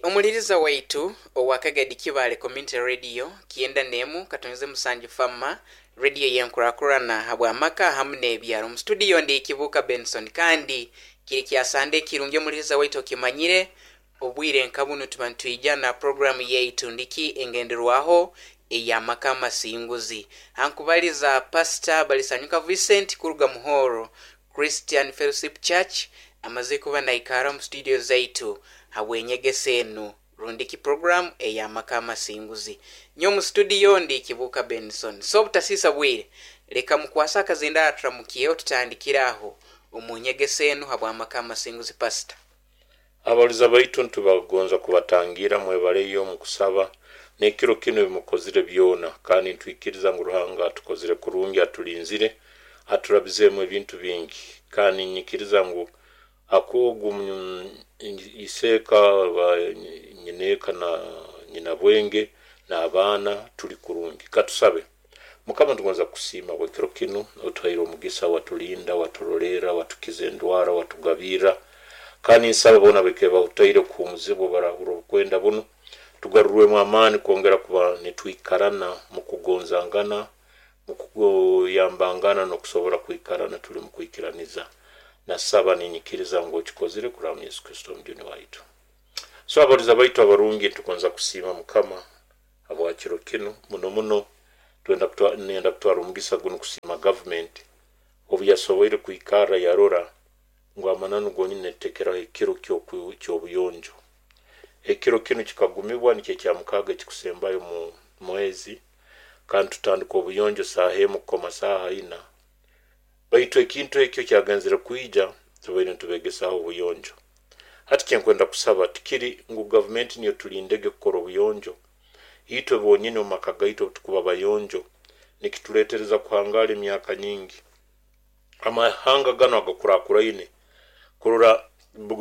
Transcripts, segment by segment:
Omuliriza waitu owa Kagadi Kibaale Community Radio 97 Fama Radio y'enkurakurana habw'amaka hamu n'ebyaro. Omu studio ndi Kibuuka Benson kandi kiri kya Sande ekirungi omuliriza waitu okimanyire obwire nka bunu tuba nitwija na puroguramu yaitu ndiki engenderwaho ey'amaka amasinguzi. Hankubaliza Pastor Balisanyuka Vincent kuruga Muhoro Christian Fellowship Church amaze kuba naikara omu studio zaitu habw'enyegesa enu rundiki puroguramu ey'amaka amasinguzi. Nyowe omu studio ndi Kibuuka Benson. So obutasiisa bwire, leka mukwase akazindaaro aturamukiyeho tutandikire aho omu nyegesa enu habw'amaka amasinguzi. Pastor. Abaliza baitu nitubagonza kubatangira mwebaleyo omu kusaba n'ekiro kinu ebimukozire byona, kandi nitwikiriza ngu Ruhanga atukozire kurungi, atulinzire, aturabizeemu ebintu bingi, kandi ninyikiriza ngu akogu iseeka ba nyineeka na nyinabwenge n'abaana tuli kurungi. Katusabe. Mukama, tugonza kukusiima bwekiro kinu, otuhaire omugisa, watulinda, waturolerra, watukiza endwara, watugabirra, kandi nsaba boona abaikaire bahutaire kuhuumuzibwa barahurra obukwenda bunu, tugarurwemu amaani kwongera kuba nitwikarana mu kugonzangana, mu kuyambangana n'okusobora kwikarana tuli mu kwikiraniza. Nasaba ninyikiriza ngu okikozire kuraba mu Yesu Kristo Omujuni waitu. So abaliza baitu abarungi, nitugonza kusiima Mukama habwa kiro kinu muno muno. Twenda nenda kutwara omugisa gunu kusiima gavumenti obu yasoboire kwikarra yarora ngu amananu gonyini netutekeraho ekiro ky'obuyonjo. Ekiro kinu kikagumibwa nikyo ekyamukaaga ekikusembayo mu mwezi, kandi tutandika obuyonjo saaha 1 kukoma saaha 4. Baitu ekintu ekyo kyagenzere kwija tubaire nitubegesaaho obuyonjo. Hati kyenkwenda kusaba tikiri ngu gavumenti niyo tulindege kukora obuyonjo. Itwe bonyini omu maka gaitu obu tukuba bayonjo nikituleetereza kuhangaara emyaka nyingi. Amahanga ganu agakurakuraine kurora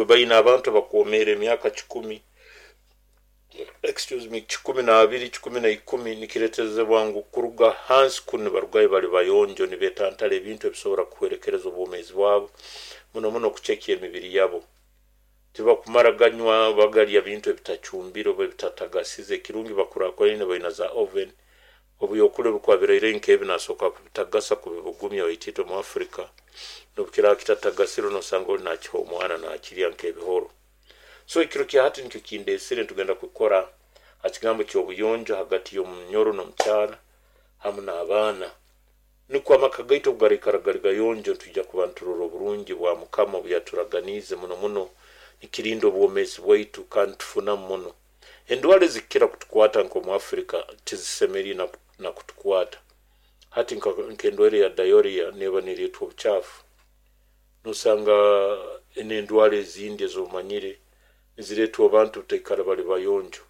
baine abantu abakwomeera emyaka 100, excuse me, 120, 110, nikireeterezebwa ngu kuruga hansi kunu nibarugayo bali bayonjo, nibetantara ebintu ebisobora kuhwerekereza obwomeezi bwabo, muno muno kucekya emibiri yabo. Tibakumara ganywa bagalya bintu ebitacumbire oba ebitatagasize. Ekirungi bakurakuraine baina za oven, obuyokule bikuba biraire nk'ebi nasoboka kubitagasa kubibugumya, baitu itwe mu Afrika n'obukiraaba kitatagasire nosanga oli nakiha omwana nakirya nk'ebihoro. So ekiro kya hati nikyo kindeesire, nitugenda kukora ha kigambo ky'obuyonjo hagati y'omunyoro n'omukyara hamu n'abaana. Nukwo amaka gaitu obu garaikara gali gayonjo, nitwija kuba niturora oburungi bwa Mukama obu yaturaganiize muno muno, nikirinda obwomeezi bwaitu kandi tufunamu muno. Endwara ezikukira kutukwata nk'omu Afrika tizisemeriire na kutukwata. Hati nk'endwaire ya diarrhea neeba neeretwa obucaafu. Nosanga n'endwara ezindi ez'omanyire nizireetwa abantu butaikara bali bayonjo.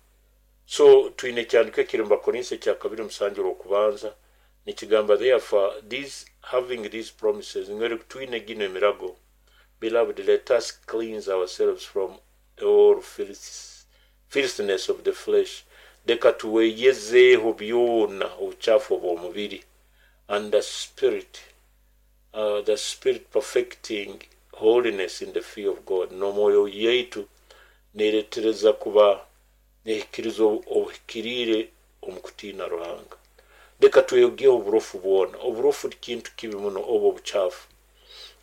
So twine ekyandiko ekiri mu Bakorinso ekya kabiri musanju orw'okubanza nikigamba, therefore these having these promises, ngwere twine gino emirago, beloved, let us cleanse ourselves from all filthiness of the flesh, leka tuweyezeeho byona obucaafu obw'omubiri, and the spirit perfecting holiness in the fear of God. N'omwoyo yaitu neeretereza kuba nehikiriza obuhikiriire omu kutiina Ruhanga. Leka tweyogeho oburofu bwona. Oburofu kintu kibi muno, obu obucaafu.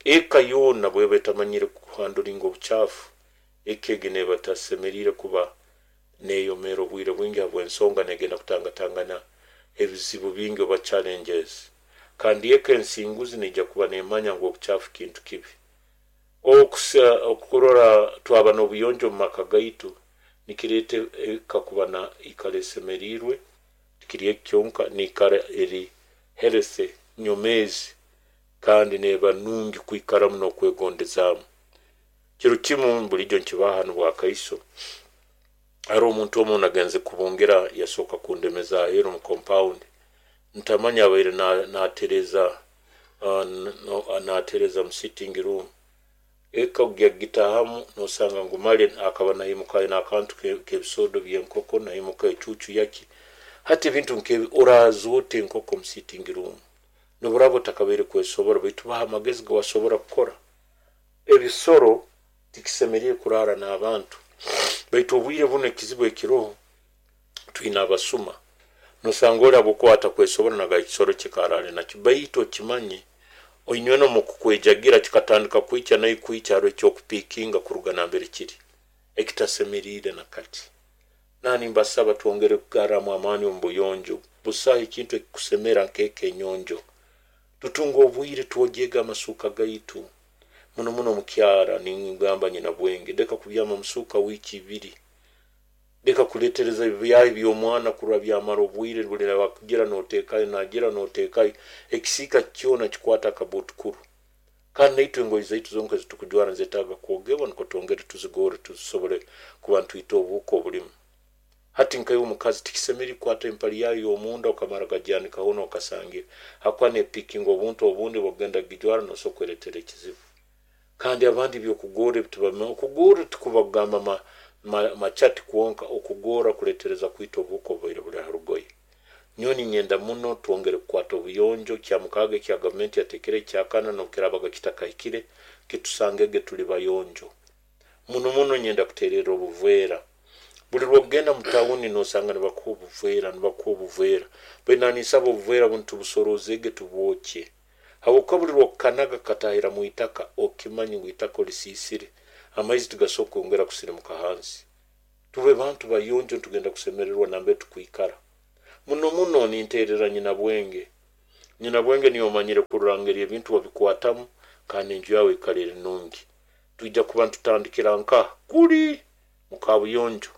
Eka yoona bweba etamanyire kuhandlinga obucaafu, eka egi neeba etasemeriire kuba neeyomeera obwire bwingi, habw'ensonga negenda kutangatangana ebizibu bingi oba challenges. Kandi eka ensinguzi neija kuba neemanya ngu obucaafu kintu kibi. Okurora twaba n'obuyonjo omu maka gaitu nikireeta eka kuba na ikara esemeriirwe, tikiri eki kyonka, niikara eri healthy, nyomeezi, kandi neeba nungi kwikaramu n'okwegondezaamu. Kiro kimu bulijo nkibaha hanu bwakaiso, haroho omuntu omu nagenze kubungira, yasooka kundemeza aheeru mu compound. Ntamanya abaire natereza mu sitting room. Eka kugya kugitaahamu nosanga ngu male akaba naimuka aine akantu k'ebisodo by'enkoko, naimuka ecuucu yaki. Hati ebintu nk'ebi, oraaza ota enkoko mu sitting room? Noburaba otakabaire kwesobora, baitu baha amagezi gawasobora kukora. Ebisoro tikisemeriire kuraara n'abantu. Baitu obwire buno ekizibu ekiroho, twina abasuma. Nosanga oli habwokuba atakwesobora naga ekisoro kye karale nakyo. Baitu okimanye, oinywena omu kukwejagira kikatandika kwikya nayo kwikya haro ekyokupikinga kuruga nambere kiri, ekitasemeriire na kati. Nani mbasaba twongere kugarramu amaani omu buyonjo. Busaho ekintu ekikusemera nk'eka enyonjo. Tutunga obwire twogyega amasuuka gaitu. Muno muno omukyara ningamba nyina bwenge, leka kubyama musuuka wiiki ibiri. Leka kuletereza ebyahi by'omwana kurwa byamara obwire buli wakugira noteekayo, nagira noteekayo. Ekisiika kyona kikwata akabutukuru. Kandi naitwe engoye zaitu zonka ezitukujwara nizetaaga kwogebwa nukwo twongere tuzigorre tusobole kuba nitwita obuhuka obulimu. Hati nkaiwe omukazi tikisemeriire kukwata empali yayo y'omunda okamara gagyanika hoona okasangira. Hakuba nepikinga obuntu obundi bwokugenda kugijwara nosobora kweretera ekizibu. Kandi abandi ebyokugorra ebitubamanya, okugorra tikuba kugamba machati kwonka, okugorra kuletereza kwita obuhuka obubaire buli ha rugoye. Nyowe ninyenda muno twongere kukwata obuyonjo, kya mukaaga ekya gavumenti yateekere ekyakana nobukirabaga kitakahikire, kitusangege tuli bayonjo. Muno muno nyenda kutererra obuveera. Buli lwokugenda mu tawuni nosanga nibakuha obuveera, nibakuha obuveera. Baitu nanisaba obuveera bunu tubusorozege tubwokye. Habwokuba buli lwokukanaga katahira mu itaka, okimanye ngu itaka olisiisire. Amaizi tigasobora kwongera kusirimuka hansi. Tube bantu bayonjo nitugenda kusemererwa nambere tukwikara. Muno muno ninterera nyina bwenge. Nyina bwenge niyo omanyire kurora ngeri ebintu wabikwatamu kandi enju yawe ikara eri nungi. Twija kuba nitutandikira nkaha kuli mu kabuyonjo.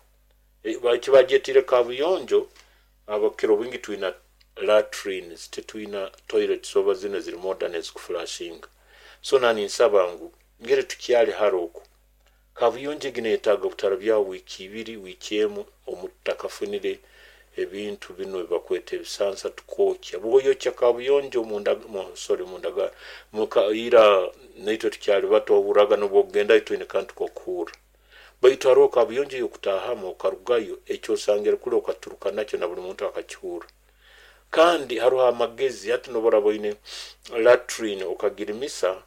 Ekibagyetiire kabuyonjo, abakira obwingi twina latrines, titwina toilets oba zinu eziri modern ezikuflashinga. So nani nsaba ngu ngeri tukyali hara oku, kabuyonjo egi neyetaaga butarabyaho wiiki ibiri, wiiki emu omutakafunire ebintu binu ebibakweta ebisansa tukokya. Bwoyokya kabuyonjo ira naitwe tukyali bato ohurraga nobwokugendayo twine kantu kokuhurra. Baitu haroho kabuyonjo eyokutahamu okarugayo ekyosangire kuli okaturuka nakyo na buli muntu akakihurra. Kandi haroho amagezi, hati noboraba oine latrine okagirimisa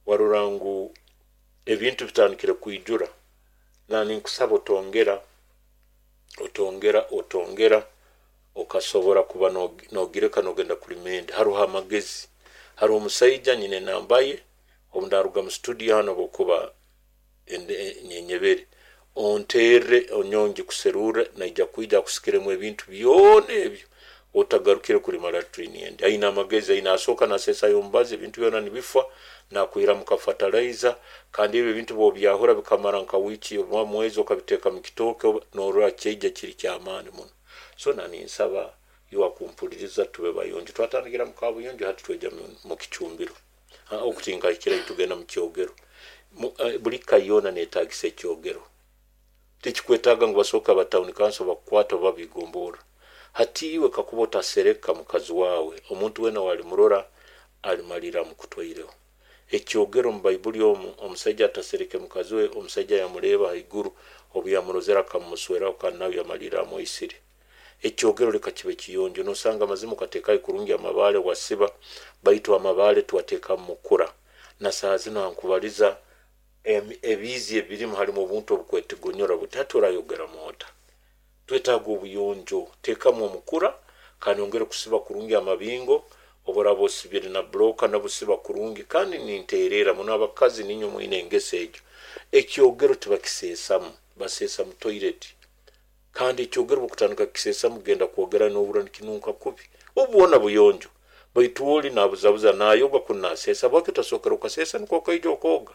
warora ngu ebintu bitandikire kwijura. Nani nkusaba otongera, otongera, otongera, okasobora kuba nogireka nogenda kulima endi. Haroho amagezi. Haroho omusaija nyine enamba ye, obu ndaruga mu studio hano obukuba nyenyebere, onterre onyongi kuserurre, naija kwija akusikiremu ebintu byona ebyo, otagarukire kulima latrine endi. Aine amagezi, aine asooka nasesayo omubazi, ebintu byona nibifa, nakwihiramu ka fertilizer, kandi ebyo ebintu bwobyahura bikamara nka wiiki oba mwezi okabiteeka mu kitooke, norora kyaija kiri kyamaani muno. So nani nsaba iwe akumpuliriza tube bayonjo. Twatandikira mu kabuyonjo, hati tweja mu kicumbiro. Okutinka tugenda mu kyogero. Buli ka yoona neetagisa ekyogero. Tikikwetaaga ngu basooke aba town council bakukwata oba bigombora. Hati iwe kakuba otasereka mukazi wawe, omuntu weena walimurora alimalira amukutwaireho. Ekyogero mu Baibuli omu, omusaija atasereke mukazi we, omusaija yamureeba haiguru, obu yamurozere akamumusweraho kandi nawe yamalira amwisire. Ekyogero leka kibe kiyonjo, nosanga amazima okateekayo kurungi amabaale wasiba, baitu amabaale tuwateekamu mukura. Na saaha zinu ankubaliza ebiizi ebirimu halimu obuntu obukwetigonyora buti hati orayogeramu ota. Twetaaga obuyonjo, teekamu omukura kandi ongere kusiba kurungi amabingo, oboraba osibire na bloka nabusiba kurungi. Kandi ninterera muno abakazi ninywe mwine engeso egyo. Ekyogero tibakiseesamu, baseesa mu toilet. Kandi ekyogero bwokutandika kukiseesamu kugenda kwogera nohurra nikinunka kubi. Obu bwona buyonjo. Baitu oli nabuzabuza nayoga kunu naseesa, bwaki otasookera okaseesa nikwo okaija okooga.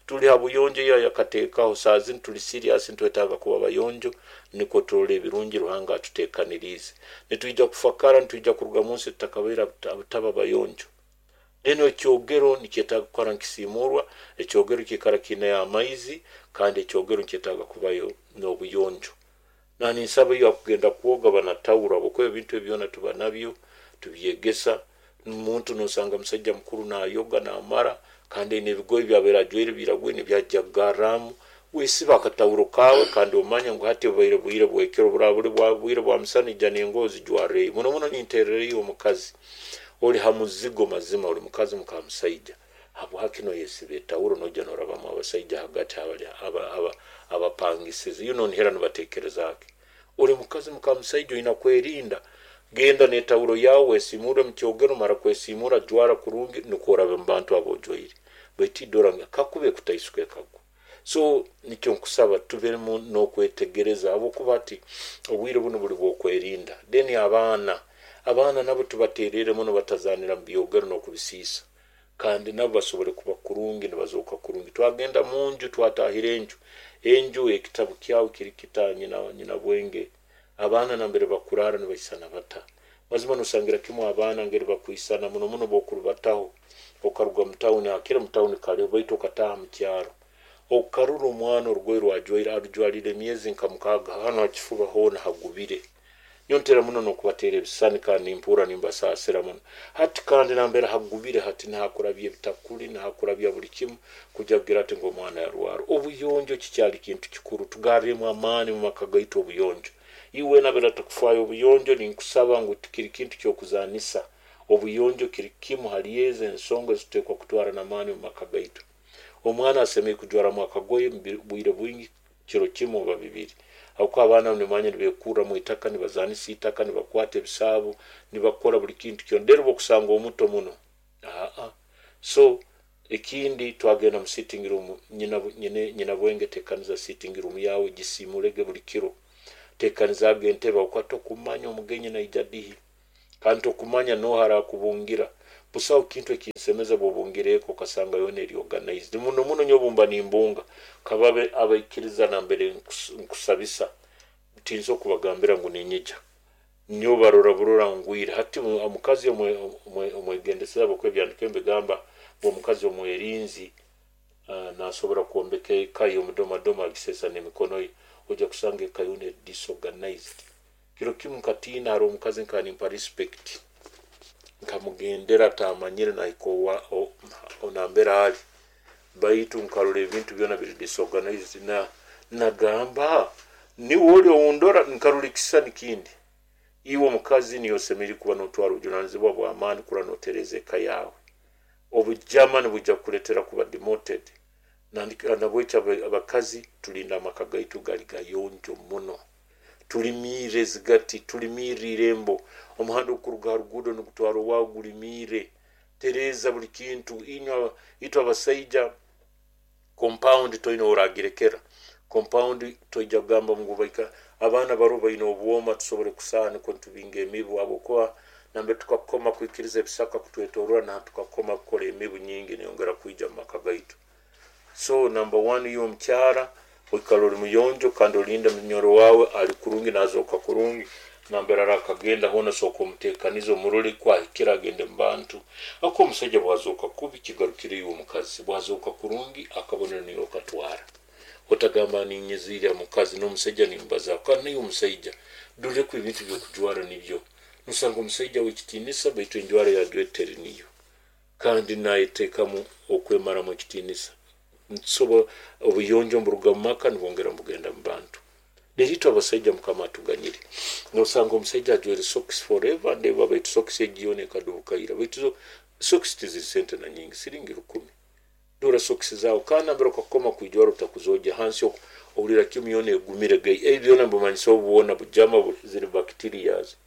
Tuli ha buyonjo iyo yakateekaho, saa zinu tuli serious, nitwetaaga kuba bayonjo nikwo turole ebirungi Ruhanga atuteekaniriize. Nitwija kufakara, nitwija kuruga munsi tutakabaire abutaba bayonjo. Then ekyogero nikyetaaga kukora nkisiimurwa, ekyogero kiikara kiineyo amaizi, kandi ekyogero nikyetaaga kubayo n'obuyonjo. Nani nsaba iyo akugenda kwoga banatawuro, habwokuba ebintu ebyo byona tuba nabyo, tubyegesa. Omuntu nosanga musajja mukuru nayoga namara, kandi aine ebigoye byabaire ajwaire biragwire nibyajja kugarramu. Wesiba akatawuro kawe kandi omanye ngu hati obubaire bwire bwekiro, buraba buli bwire bwa musana ija n'engoye ozijwarreyo. Muno muno nintererayo omukazi oli ha muzigo mazima, oli mukazi muka musaija. Habwaki noyesiba etawuro noija norabamu abasaija hagati Abapangisize nihera nibatekerezaake. Ori mukazi mukamusaija oina kwerinda, genda n'etawuro yawe wesimure mukyogero, mara kwesimura jwara kurungi nukwo orabe mu bantu abojwaire, baitu idora kakube kutaisuka ekagwa. So nikyo nkusaba tubemu n'okwetegereza, habwokuba ati obwire bunu buli bw'okwerinda. Then abaana nabo tubaterere muno batazanira mu byogero n'okubisiisa, kandi nabo basobole kuba kurungi nibazooka kurungi. Twagenda munju, twatahira enju ekitabu kyawe kiri kita nyina bwenge, abaana nambere bakurara nibaisana bata. Mazima nosangira kimu abaana ngeri bakwisana muno muno bokurubataho, okaruga mutawuni, akira mutawuni kale baitu okataha mukyaro, okarura omwana orugoye rwajwaire arujwalire emyezi nka 6, hano hakifuba hoona hagubire. Nyontera muno n'okubateera ebisani kandi nimpurra nimbasaasira muno. Hati kandi nambere hagubire hati nihakurabya ebitakuli, nihakurabya buli kimu, kujya kugira ati ngu omwana yarwara. Obuyonjo kikyali kintu kikuru, tugarremu amaani mu maka gaitu obuyonjo. Iwe nabera atakufaayo obuyonjo, ninkusaba ngu tikiri kintu ky'okuzanisa. Obuyonjo kiri kimu hali ezo ensonga ezituteekwa kutwara n'amaani mu maka gaitu. Omwana asemeriire kujwaramu akagoye bwire bwingi, kiro kimu oba bibiri, habwokuba abaana nimanya nibekurra mu itaka, nibazanisa itaka, nibakwata ebisaabo, nibakora buli kintu kyona. Then obukusanga omuto muno So ekindi twagenda mu sitting room, nyina bwenge tekaniza sitting room yawe, gisimulege buli kiro, tekanizaga entebe, habwokuba tokumanya omugenyi naija dihi, kandi tokumanya noha arakubungira. Busaho kintu ekinsemeza bwobungira eka okasanga yoona eri organized. Muno muno nyowe bumba nimbunga kababe abaikiriza nambere nkusabisa, tinso kubagambira ngu ninyija, nyowe barora burora ngwire. Hati omukazi omwegendeseza, habwokuba ebyandiko mbigamba ngu omukazi omwerinzi nasobora kwombeka eka ye, omudomadoma agisesa n'emikono ye, ojja kusanga eka yoona eri disorganized. Kiro kimu nkatiina, haroho omukazi nkaba nimpa respect, nkamugendera atamanyire nahika nambere ali, baitu nkarora ebintu byona biri disorganized, nagamba niwe oli oundora, nkarora ekisisani kindi. Iwe omukazi niyo osemeriire kuba notwara obujunanizibwa bw'amaani kurora notereza eka yawe. Obujama nibwija kukuletera kuba demoted. Nabwekyo abakazi tulinda amaka gaitu gali gayonjo muno, tulimiire ezigati, tulimiire irembo, omuhanda okuruga ha ruguudo nigutwara owawe gulimiire, tereza buli kintu. Inywe itwe abasaija compound toine oragirekera, compound toija kugamba ngu baika abaana baro baine obwoma tusobole kusaha nukwo ntubinga emibu, habwokuba nambere tukakoma kwikiriza ebisaka kutwetorora, na tukakoma kukora emibu nyingi neyongera kwija mu maka gaitu. So number 1, iwe omukyara oikara ori muyonjo kandi olinde munyoro wawe ali kurungi nazoka kurungi, nambere arakagenda hoona soka omutekanize omurole kwahikira agende mu bantu. Ako omusaija bwazoka kubi kigarukire iwe omukazi, bwazoka kurungi akabonero niwe okatwara. Otagamba ninyeziire omukazi n'omusaija nimbaza, kandi naiwe omusaija doreku ebintu byokujwara nibyo. Nosanga omusaija w'ekitiinisa baitu enjwara yajwaire teri niyo, kandi nayetekamu okwemaramu ekitiinisa. Ntusobola obuyonjo mburuga mu maka nibwongera mbugenda mu bantu. Neritwe abasaija Mukama atuganyire, nosanga omusaija ajwaire socks forever and ever, baitu socks egi yoona ekadubukaira, baitu socks tiziri sente na nyingi, siringi 1000. Dora socks zawe kandi nambere okakoma kwijwara otakuzogya hansi, ohurira kimu yoona egumire gai. Ebi byona mbumanyisa obu bwona bujama ziri bacterias.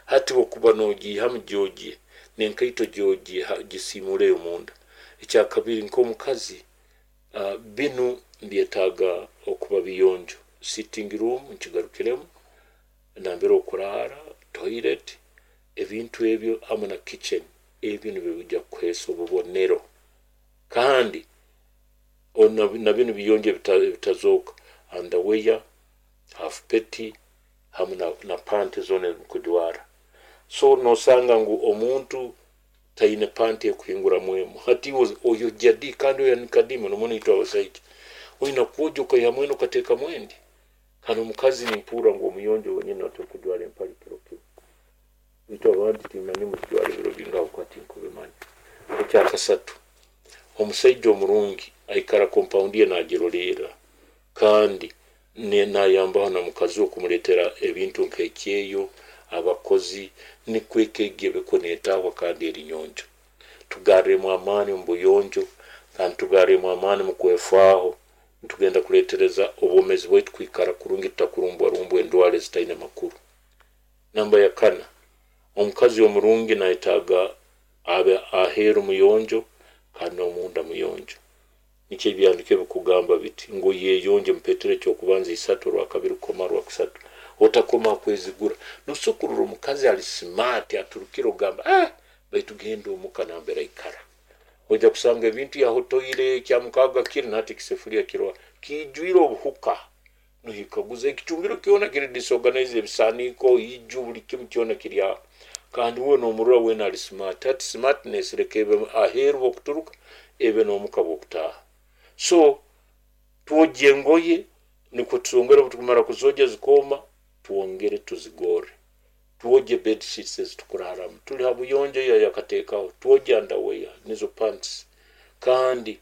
Hati bwokuba nogiihamu gyogie n'enkaito gyogie gisiimuleyo munda. Ekyakabiri, nk'omukazi binu mbyetaaga okuba biyonjo. Sitting room nkigarukiremu, nambere okurara, toilet, ebintu ebyo hamu na kitchen, ebyo nibyo bijja kukuheesa obubonero. Kandi na binu biyonjo ebitazooka, underwear, half petty hamu na panty zona ezimukujwara. So nosanga ngu omuntu taine panty ekuhinguramu emu, hati oyogya di kandi oyanika di muno muno itwe abasaija oina kwogya okaihamu enu okateekamu endi. Kandi omukazi nimpurra ngu omuyonjo wenyini natwe kujwara empali kiro kimu, itwe abandi timanyi muzijwara ebiro bingaho kuba tinkubimanya. Ekyakasatu, omusaija omurungi aikara compound ye nagirolerra, kandi nayambaho na mukazi we kumuleetera ebintu nk'ekyeyo, abakozi, nikwo eka egi ebeko netahwa kandi eri nyonjo. Tugarremu amaani omu buyonjo, kandi tugarremu amaani mu kwefaaho. Nitugenda kuletereza obwomezi bwaitu kwikara kurungi, tutakurumbwarumbwa endwara ezitaine makuru. Namba ya kana, omukazi omurungi nayetaaga abe aheeru muyonjo kandi n'omunda muyonjo. Nikyo ebyahandiikirwe bikugamba biti ngu yeyonje, mupetero ekyokubanza 3 rwakabiri kukoma rwakusatu. Otakoma kwezigura. Nosobola kurora omukazi ali smart aturukire ogamba baitu genda omuka nambere aikara, ojja kusanga ebintu yahotoire ekyamukaga kiri nahati ekisefuliya kirwa kiijwire obuhuka, nohikaguza ekicumbiro kyona kiri disorganize, ebisaaniko, iju, buli kimu kyona kiri aho, kandi uwe nomurora weena ali smart. Hati smartness leka ebe aheeru bwokuturuka, ebe n'omuka bwokutaaha. So twogye engoye, nikwo tusongere obutukumara kuzogya zikooma, twongere tuzigorre. Twogye bed sheets ezitukuraramu, tuli ha buyonjo eyo yakateekaho, twogye underwear nizo pants. Kandi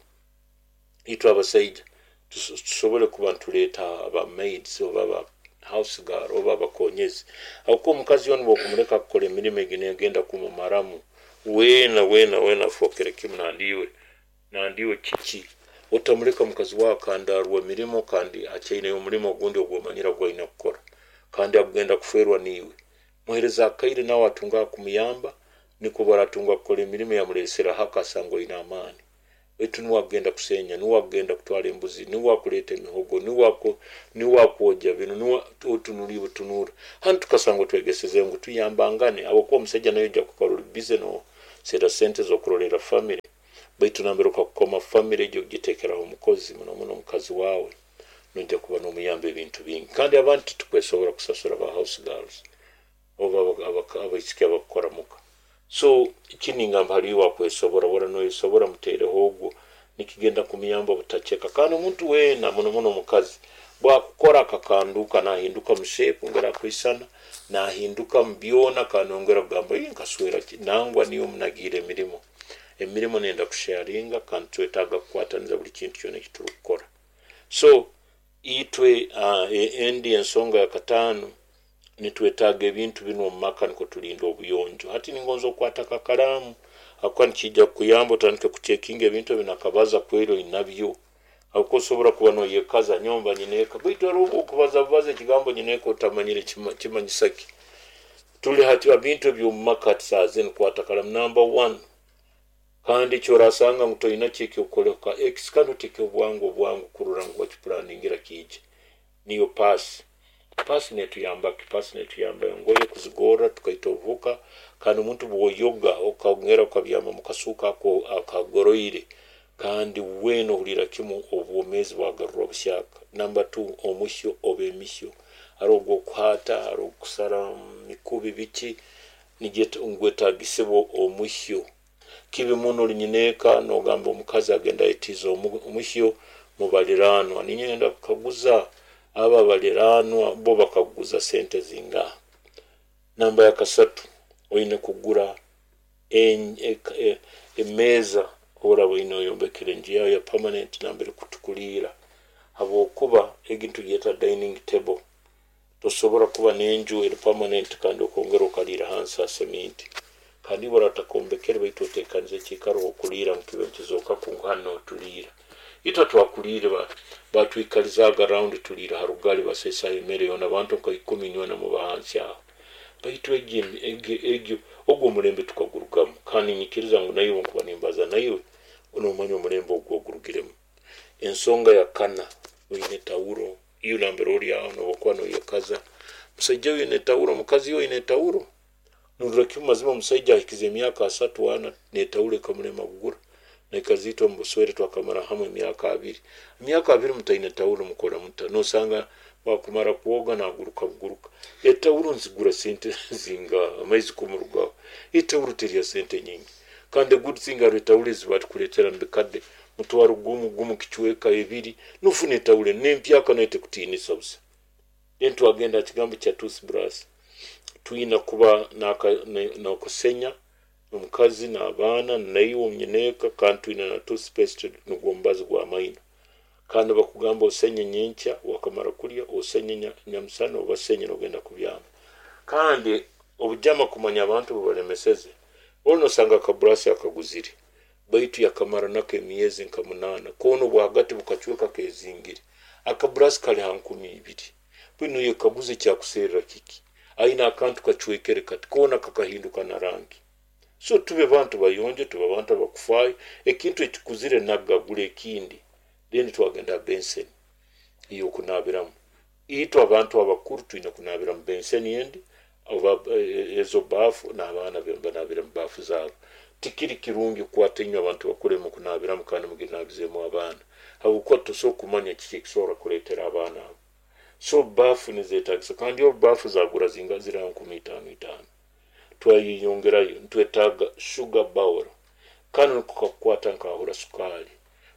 itwe abasaija tusobole kuba nituleeta aba maids oba aba house girl oba abakonyezi, habwokuba omukazi onu bwokumuleka kukora emirimo egi negenda kumumaramu weena weena weena afookere kimu nandiiwe nandiiwe kiki. Otamuleka mukazi wawe akandarwa emirimo kandi akyaineyo omulimo ogundi ogwomanyire gwaine kukora kandi agenda kuferwa niiwe. Muhereza akaire nawe atunga kumuyamba, nikwo baratunga kukora emirimo yamuleesera haka asanga oine amaani. Baitu nuwe agenda kusenya, nuwe agenda kutwara embuzi, nuwe akuleeta emihogo, nuwe akwogya binu, nuwe otunura butunura. Hanu tukasanga twegeseze ngu tuyambangane, habwokuba omusaija nawe ojja kukora oli busy noseera sente z'okurolera family, baitu nambere okakukoma family egyo ogitekeraho omukozi, muno muno omukazi wawe, nojja kuba nomuyamba ebintu bingi. Kandi abandi titukwesobora kusasura ba house girls oba abaisiki abakukora muka. So kiningamba hali iwe akwesobora, wara noyesobora mutereho ogwo, nikigenda kumuyamba obutacheka. Kandi omuntu weena muno muno omukazi bwakukora akakanduka nahinduka mushape ngera akwisana, nahinduka mubyona, kandi nongera kugamba nkaswera ki, nangwa niyo munagiire emirimo. Emirimo nenda kusharinga kandi twetaaga kukwataniza buli kintu kyona ekiturukukora. So itwe endi ensonga ya katano, nitwetaaga ebintu binu omu maka nikwo tulinda obuyonjo. Hati ningonza okukwata akakaramu akuba nikijja kukuyamba otandike kuchekinga ebintu ebi nakabaza kweri oinabyo. Habwokuba osobora kuba noyekaza nyomba nyineeka, baitu hariho okubaza bubaza ekigambo nyineeka otamanyire kimanyisa ki. Tuli hati ebintu eby'omu maka hati saaha zinu kwata karamu namba 1. Kandi ekyorasanga ngu toina ki ekyokukoleka x, kandi oteeke obwangu obwangu kurora ngu wakipulaningira kiije. Niyo paasi. Paasi netuyamba ki? Paasi netuyamba engoye kuzigorra tukaita obuhuka, kandi omuntu bwoyoga okongera okabyama mu kasuuka ako akagoroire, kandi weena ohulira kimu obwomeezi bwagarurwa buhyaka. Namba 2, omuhyo oba emihyo, hariho ogwokuhaata, hariho ogwokusara mikubi biki, ngwetagisibwa omuhyo. Kibi muno oli nyineeka nogamba omukazi agenda ayetiize omuhyo mubaliranwa. Ninyenda kukaguza aba baliranwa bo bakaguza sente zingaha. Namba ya kasatu, oine kugura emeeza oraba oine oyombekere enju yawe ya permanent nambere kutukuliira, habwokuba egi nitugyeta dining table. Tosobora kuba n'enju eri permanent kandi okongera okaliira hansi ha seminti. Kandi iwe oratakombekere baitu otekanize ekiikaro okuliira ngu kibe nikizooka ngu hanu notuliira. Itwe twakuliire batwikalizaaga round tuliira ha rugali baseesaho emere yoona abantu nka 10 nywena muba hansi aho. Baitu egyo ogwo omulembe tukagurugamu, kandi ninyikiriza ngu naiwe nkuba nimbaza naiwe nomanya omulembe ogwo ogurugiremu. Ensonga ya kana, oine tawuro, iyo nambere ori aho nobokuba noyekaza, musaija oine tawuro, mukazi oine tawuro, nurora kimu mazima omusaija ahikize emyaka 3 4 netawuro ekamulema kugura. Naikazi itwe omu buswere twakamara hamwe emyaka 2. Emyaka 2 mutaine tawuro mukora muta, nosanga wakumara kwoga naguruka buguruka. Etawuro nzigura sente zinga amaizi kumurugaho. Etawuro terya sente nyingi. Kandi good thing hariho etawuro ezi batukuleetera mubikadde, mutwaro gumu gumu kichweka 2, nofuna etawuro n'empyaka nayo tekutiinisa busa. Then twagenda ha kigambo kya toothbrush. Twina kuba n'okusenya omukazi n'abaana naiwe omunyineeka, kandi twina na toothpaste nugwo omubazi gw'amaino. Kandi bakugamba osenye nyenkya wakamara kulya, osenye nyamusana oba senye nogenda kubyama. Kandi obujama kumanya abantu bubalemeseze, oli nosanga akaburasi akaguzire, Baitu yakamara nako emyezi nka 8, koona obwahagati bukacweka kezingire. Akaburasi kali ha 2000. Bwino yekaguze kyakuserra kiki, aine akantu kacwekere kati koona kakahinduka na rangi. So tube bantu bayonjo, tube bantu abakufaayo. Ekintu ekikuzire nagagura ekindi. Then twagenda benseni eyokunabiramu. Itwe abantu abakuru twine kunabira mu benseni endi oba ezo baafu, n'abaana banabira mu baafu zaabo. Tikiri kirungi kukwata inywe abantu bakuru mukunabiramu kandi muginabizemu abaana, habwokuba tosobora kumanya kiki ekisobora kuleetera abaana abo. So baafu nizetagisa, kandi obu baafu zagura zinga ziri ha 5000 itaano. Twayeyongerayo, nitwetaaga sugar bowl. Kanu niko kakukwata nkahura sukaali,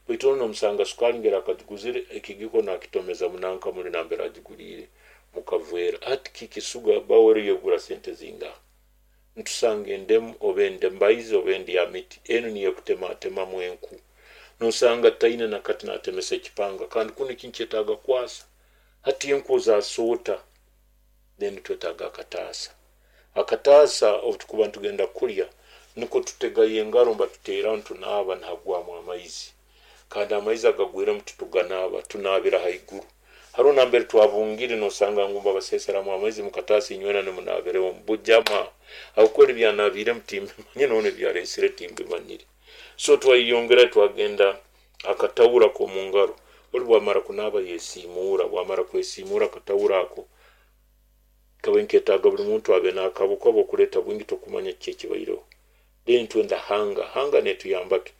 baitu ono nomusanga sukaali ngeri akagiguzire ekigiko nakitomeza munanka muli nambere agiguliire mukavera. Hati kiki sugar bowl yegura sente zingaha? Ntusanga endemu oba endembaizi oba endyamiti, enu niyo ekutematemamu enku. Nosanga taine nakati natemesa ekipanga, kandi kunu ekintu kyetaaga kwasa. Hati enku ozasoota. Then twetaaga akataasa. Akataasa obutukuba nitugenda kulya, niko tutegayo engaro mbatuteeraho, nitunaaba nihagwamu amaizi, kandi amaizi agagwiremu tituganaaba, tunaabira haiguru. Haroho nambere twabungire nosanga ngu mbabaseseramu amaizi mukataasa, inywena nimunabireho bujama, habwokuba ebyanabiiremu timbimanyire, none ebyaresire timbimanyire. So twayeyongera twagenda akatawura k'omungaro. Oli bwamara kunaaba yesiimuura, bwamara kwesiimuura akatawura ako kabe nketaaga buli muntu abe n'akabo, kuba okuleeta bwingi tokumanya kiki ekibaireho. Then twenda hanga. Hanga netuyamba ki?